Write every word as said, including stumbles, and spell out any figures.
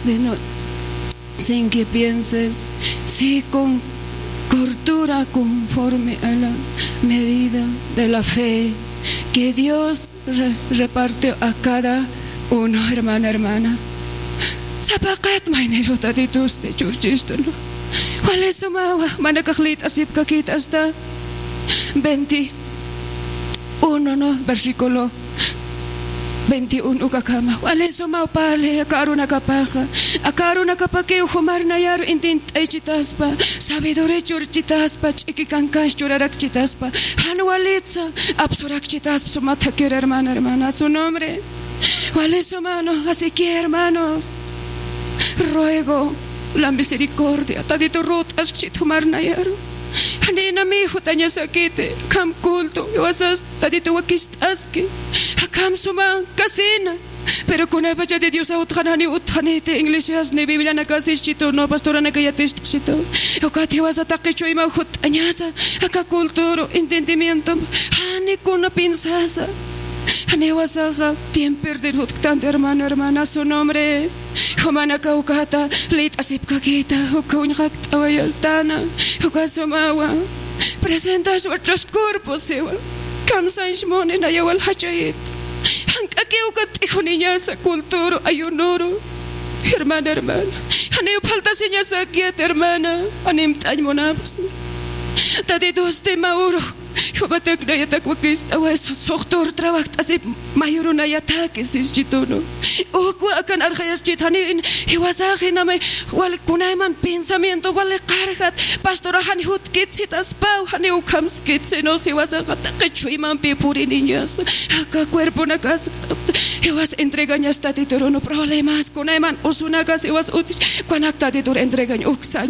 De no, sin que pienses, sí, con cordura, conforme a la medida de la fe que Dios re-, repartió a cada uno, hermana, hermana. Sapaqat mayniru Tatitusti churchistu, ¿no? Wali sumawa, manakax liyt'asipkakït hasta veintiuno, ¿no? Versículo veintiuno ukakama. Wali sumaw parli aka arunakapaxa. Aka arunakapakiw jumar nayaru intint'aychitaspa, sabiduría churchitaspa, ch'iki kankanx churarakchitaspa, jan walitsa apsurakchitaspa suma thakir, hermana, hermana, su nombre. Wali suma, ¿no? Así que, hermanos, ruego la misericordia, Tatitu rut'askchit jumar nayaru. Janiw nayam jut'añasakiti, akham culto, jiwasas Tatitu wakist'aski. Akham suma kasina. Pero kunaypacha de Diosaw utjani, janiw utjaniti, iglesias ni Biblianakasischitu, ¿no? Pastoranaka yatist'xitu. Ukat jiwasa taqi chuymaw jut'añasa, aka culturu, entendimiento, jani kuna piensasa. Janiw jiwasaxa tiempo perder jutktanti, hermano, hermana, su nombre. Jumanaka ukata liyt'asipkakïta, uka uñxatt'awayaltana, uka sumawa. Presentas vuestros cuerpos, siwa. Kamsañs muni, naya wal jachayit. Jank'aki uka t'ijuniñasa culturu, ayunuru. Hermana, hermana. Janiw faltasiñasakiti, hermana. Animt'añ munapxsma. Tatitusti mä uru. Jupatak nayatak wakist'away, suxtur trabajt'asip mayuru nayatak sischitu, ¿no? Ukwa akan arxayaschit, janiw in, jiwasax inamay, wal kunayman pensamiento wali qarjat, pastorax jan jutkit sitaspaw, janiw ukhamskit, sino jiwasaxa taqi chuymampi puriniñas, aka cuerponakas, jiwas entregañas Tatitur, ¿no? Problemas, kunayman usunakas jiwas utjch, kunak Tatitur entregañ, uksañ